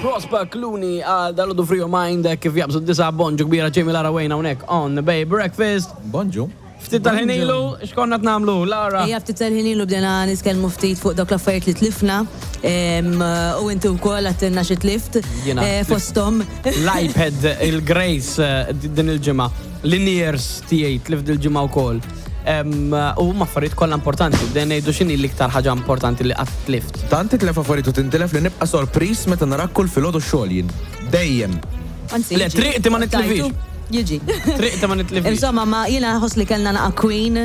Prosper Clooney għal dal-għodu Free Your Mind kif jaqbżu d-disa bonġu kbira Jamie Lara Wayne hawnhekk on Bay Breakfast. Bonġu. Ftit tal-ħin ilu, x'konna qed nagħmlu, Lara? Ejja ftit tal-ħin ilu bdejna nitkellmu ftit fuq dawk l-affarijiet li tlifna u inti wkoll għattilna xi tlift Jiena eh, fosthom. L-iPad, il-Grace eh, din il-ġimgħa, l-in-ears tiegħi tlift dil-ġimgħa wkoll. U huma affarijiet kollha importanti. Bdejna ngħidu x'inhi l-iktar ħaġa importanti li qatt tlift. Tant titlef affarijiet u tintilef li nibqa' sorpriż meta narak kull filgħodu x-xogħol jien. Dejjem. Anzi, Le, jiġi. triqti ma nitlifix. Tajtu, Jiġi. Triqti ma nitlifix. Insomma, ma jiena nħoss li kellna naqa Queen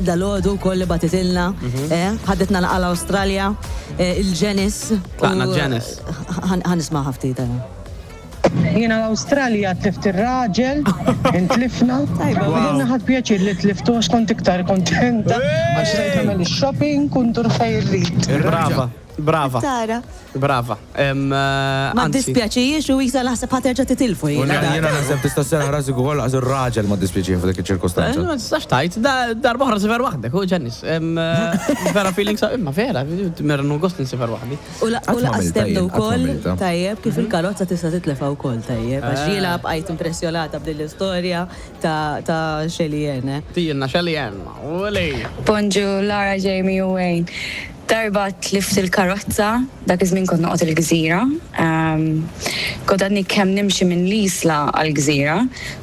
dal-għodu wkoll li bagħtitilna. Eh, ħadetna naqa l-Awstralja, eh, il-Ġenis. Tlaqna Ġenis. Ħa nisma' ftit. eh. Jiena l-Awstralja tlift ir-raġel, intlifna. Tajba. U jiena ħadt pjaċir li tliftu għax kont iktar kontenta għax stajt nagħmel ix-shopping u ndur fejn irrid. Brava, brava. Tara. Brava. Ma ddispjaċijiex u isa naħseb ħa terġa' titilfu jiena. Jiena naħseb tista' sserraħ rasek ukoll laqas ir-raġel ma ddispjaċih f'dik iċ-ċirkustanza. Ma tistax tgħid, darba oħra sifer waħdek, u ġennis. Vera feeling sa' imma vera, mera nieħu gost insifer waħdi. U laqas temnu wkoll tajjeb kif il-karozza tista' titlefha wkoll tajjeb. Għax jiena bqajt impressjonata b'din l-istorja ta' Shelly Ann. Tijilna Shelly Ann, uli. Bonġu Lara, Jamie u Wayne. Darba tlift il-karozza, dak iż-żmien kont noqgħod il-Gżira. Kont għadni kemm nimxi minn l-Isla għall-Gżira,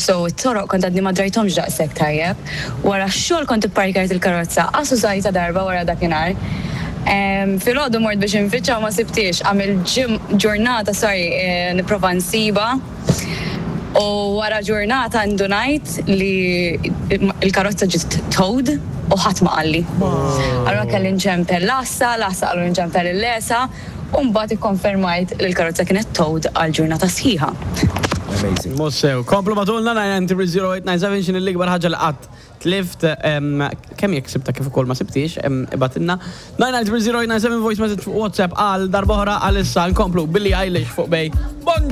so it-toroq kont għadni ma drajthomx daqshekk tajjeb. Wara x-xogħol kont ipparkjajt il-karozza, qas użajtha darba wara dakinhar. Filgħodu mort biex infittxha u ma sibthiex. Għamilt ġurnata, sorry, nipprova nsibha. U wara ġurnata ndunajt li l-karozza ġiet towed u ħadd ma qalli. Allura kelli nċempel l-għassa, l-għassa qalu nċempel lill-ESA u mbagħad ikkonfermajt li l-karozza kienet towed għal ġurnata sħiħa. Amazing. Mhux sew. Komplu bagħtulna 9930897 x'inhi l-ikbar ħaġa li qatt tlift kemm jekk sibtha kif ukoll ma sibthiex ibgħatilna 9930897 voice message fuq WhatsApp għal darb'oħra għalissa nkomplu Billie Eilish fuq Bay. Bonġu!